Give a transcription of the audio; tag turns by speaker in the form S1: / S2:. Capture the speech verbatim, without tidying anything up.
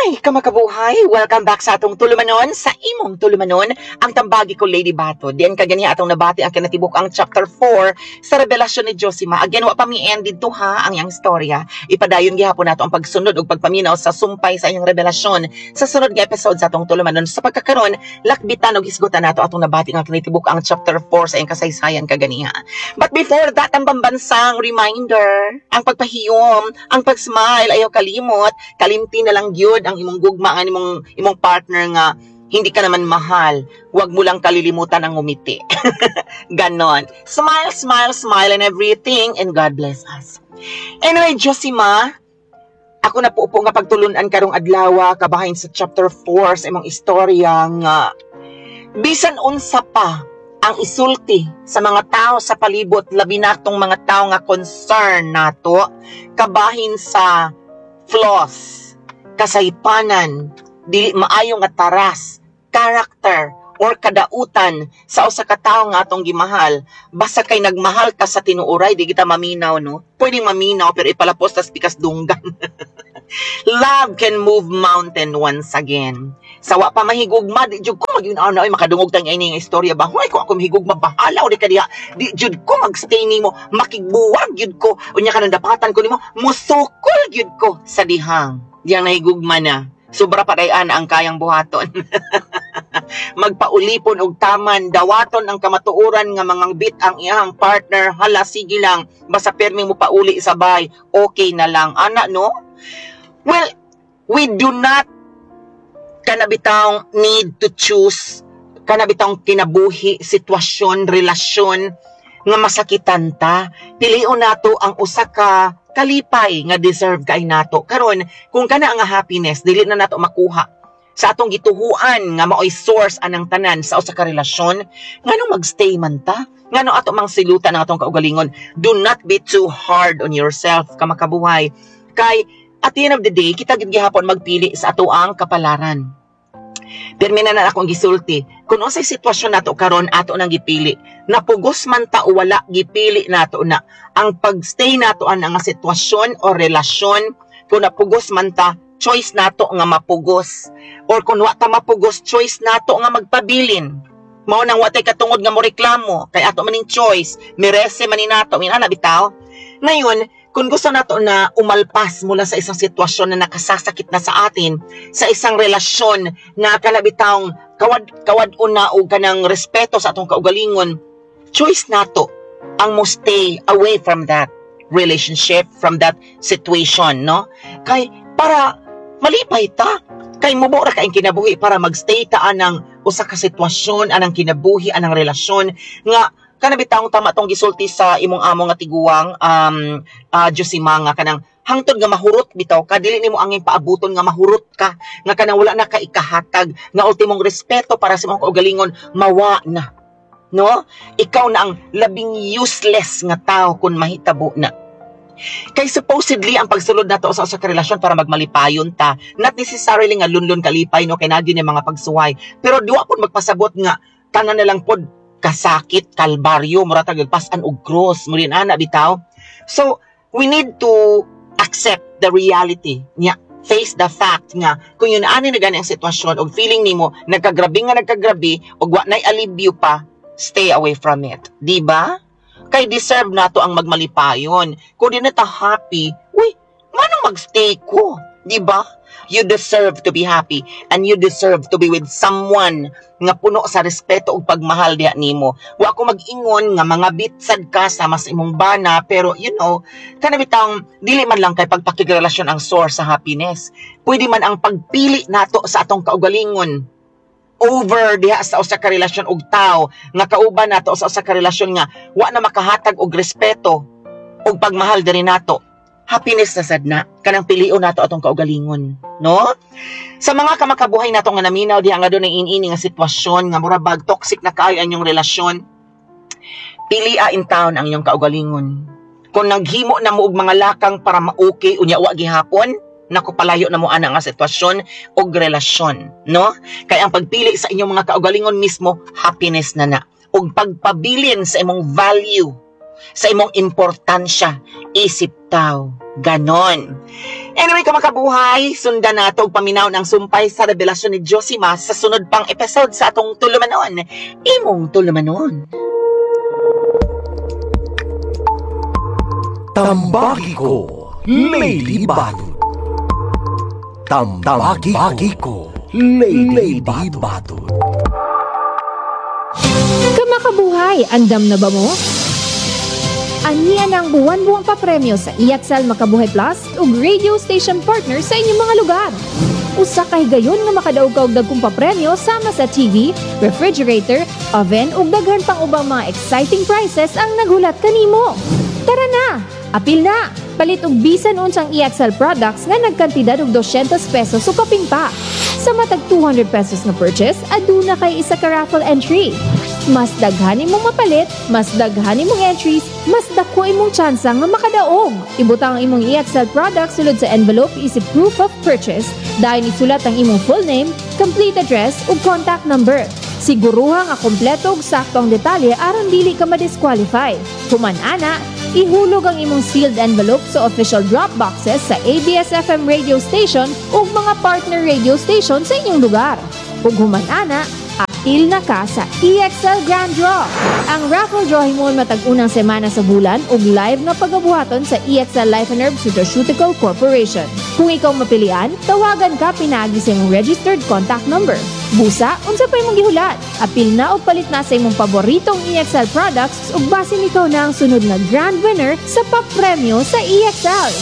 S1: Hi, kamakabuhay! Welcome back sa atong tulumanon, sa imong tulumanon, ang tambagi ko, Lady Bato. Diyan kaganiha atong nabati ang kinatibuk ang chapter four sa revelasyon ni Josima. Again, wa pa mi end dito ha, ang iyang istorya. Ipadayon gihapon nato ang pagsunod ug pagpaminaw sa sumpay sa iyang revelasyon sa sunod nga episode sa atong tulumanon. Sa pagkakaron, lakbitan og hisgutan nato atong nabati ang kinatibuk ang chapter four sa iyang kasaysayan kaganiha. But before that, ang pambansang reminder, ang pagpahiyom, ang pag-smile, ayaw kalimot, kalimti na lang gyud ang imong gugma ang imong imong partner nga hindi ka naman mahal. Huwag mo lang kalilimutan ang ngumiti. Ganon. Smile, smile, smile and everything, and God bless us. Anyway, Josima, ako na po po nga pagtulunan karong adlaw kabahin sa chapter four sa imong istorya nga bisan unsa pa ang isulti sa mga tao sa palibot, labi na tong mga tao nga concern nato kabahin sa flaws, kasaypanan, dili maayo nga taras, character or kadautan sa usa ka tawo nga atong gimahal. Basta kay nagmahal ka sa tinuoray, di kita maminaw, no? Pwedeng maminaw pero ipalapos tas pikas dunggan. Love can move mountain once again. Sa wa pa mahigugma, di jud ko mag na oy, makadungog tang ini nga istorya ba. Hoy, kung ako mahigugma, bahala o di ka diha. Di jud ko magstay nimo, makigbuwag jud ko. Unya kanang dapatan ko nimo, musukol jud ko sa dihang. Diyang nahigugma na. Sobra pa dayan ang kayang buhaton. Magpaulipon og taman, dawaton ang kamatuoran nga mangangbit ang iyang partner, hala, sige lang, basta permi mo pauli sa bay, okay na lang. Ana, no? Well, we do not kana bitawng need to choose kana bitawng kinabuhi, sitwasyon, relasyon nga masakitan ta. Pilion nato ang usa ka kalipay nga deserve kay nato. Karon, kung kana nga happiness dili na nato makuha sa atong gituhuan nga maoy source anang tanan sa usa ka relasyon, nganong magstay man ta? Ngano ato mang silutan ang atong kaugalingon? Do not be too hard on yourself, kamakabuhay. Kay at the end of the day, kita gid gihapon magpili sa ato ang kapalaran. Pirmi na na akong gisulti, kung unsay sitwasyon nato karon, ato nang gipili. Napugos man ta o wala, gipili nato na. Ang pagstay nato ang nga sitwasyon o relasyon, kung napugos man ta, choice nato nga mapugos. Or kung wa ta mapugos, choice nato nga magpabilin. Mao nang wa tay katungod nga mo reklamo, kay ato maning choice, merese man ni nato, mina bitaw. Ngayon, kung gusto nato na umalpas mula sa isang sitwasyon na nakasasakit na sa atin, sa isang relasyon na kana bitawng kawad kawad una og kanang respeto sa atong kaugalingon, choice nato ang mo stay away from that relationship, from that situation, no? Kay para malipay ta. Kay mubo ra kaing kinabuhi para magstay ta anang usa ka sitwasyon, anang kinabuhi, anang relasyon nga kana bitawng tama tong gisulti sa imong amo nga tiguang, um uh, Josima, nga kanang hangtod nga mahurot bitaw ka, dili nimo angin paabuton nga mahurot ka, nga kanang wala na ka ikahatag, nga ultimong respeto para sa imong kaugalingon mawa na, no? Ikaw na ang labing useless nga tao kung mahitabo na. Kay supposedly ang pagsulod nato sa usa ka relasyon para magmalipayon ta, not necessarily nga lunlun kalipay, no, kay naa gyud yung mga pagsuway, pero diwa pud magpasabot nga tanan na lang pod kasakit, kalbaryo, mura tag pasan og cross, mo rin ana bitaw. So, we need to accept the reality niya, face the fact nga kung yun ani na gani ang sitwasyon og feeling nimo nagkagrabi nga nagkagrabi og wa nay alibyo pa, stay away from it, di ba? Kay deserve nato ang magmalipayon. Kung di na ta happy, uy, nganong magstay ko, di ba? You deserve to be happy and you deserve to be with someone nga puno sa respeto ug pagmahal diha nimo. Wa ko mag-ingon nga mga bitsad ka sa mas imong bana, pero you know, kana bitang dili man lang kay pagpakigrelasyon ang source sa happiness. Pwede man ang pagpili nato sa atong kaugalingon over diha sa usa ka relasyon og tawo nga kauban nato sa usa ka relasyon nga wa na makahatag og respeto ug pagmahal diri nato. Happiness na sad na kanang pilion nato atong kaugalingon, no? Sa mga kamakabuhay nato nga naminaw diha nga dunay in-ini nga sitwasyon nga mura bag toxic na kaayo ang inyong relasyon, pilia in town ang inyong kaugalingon. Kung naghimo na mo og mga lakang para ma-okay, unya wa gihapon, naku, palayo na mo ana nga sitwasyon og relasyon, no? Kay ang pagpili sa inyong mga kaugalingon mismo, happiness na na. Ug pagpabilin sa imong value. sa imong importansya isip tao. Ganon. Anyway, kamakabuhay, sundan nato og paminaw ng sumpay sa revelasyon ni Josima sa sunod pang episode sa atong tulumanon. Imong tulumanon.
S2: Tambagi ko, Lady Batud. Tambagi ko, Lady Batud.
S3: Kamakabuhay, andam na ba mo? Ania na ang buwan-buwang papremyo sa E X L Makabuhay Plus ug radio station partner sa inyong mga lugar. Usa ka higayon nga makadaog ka og dagkong papremyo sama sa T V, refrigerator, oven ug daghan pang ubang mga exciting prizes ang naghulat kanimo. Tara na! Apil na! Palit og bisan unsang E X L products nga nagkantidad og dosyentos pesos o kapin pa. Sa matag two hundred pesos nga purchase, aduna kay isa ka raffle entry. Mas daghan imong mapalit, mas daghan imong entries, mas dako imong tsansa nga makadaog. Ibutang ang imong E X L products sulod sa envelope isip proof of purchase, dayon isulat ang imong full name, complete address ug contact number. Siguruha nga kompleto ug sakto ang detalye aron dili ka ma-disqualify. Human ana, ihulog ang imong sealed envelope sa official drop boxes sa A B S-F M radio station ug mga partner radio station sa inyong lugar. Ug human ana, apil na ka sa E X L Grand Draw. Ang raffle draw himuon matag unang semana sa bulan ug live nga pagabuhaton sa E X L Life and Herbs Nutraceutical Corporation. Kung ikaw mapilian, tawagan ka pinaagi sa imong registered contact number. Busa, unsa pa imong gihulat? Apil na og palit na sa imong paboritong E X L products ug basin ikaw na ang sunod nga grand winner sa papremyo sa E X L.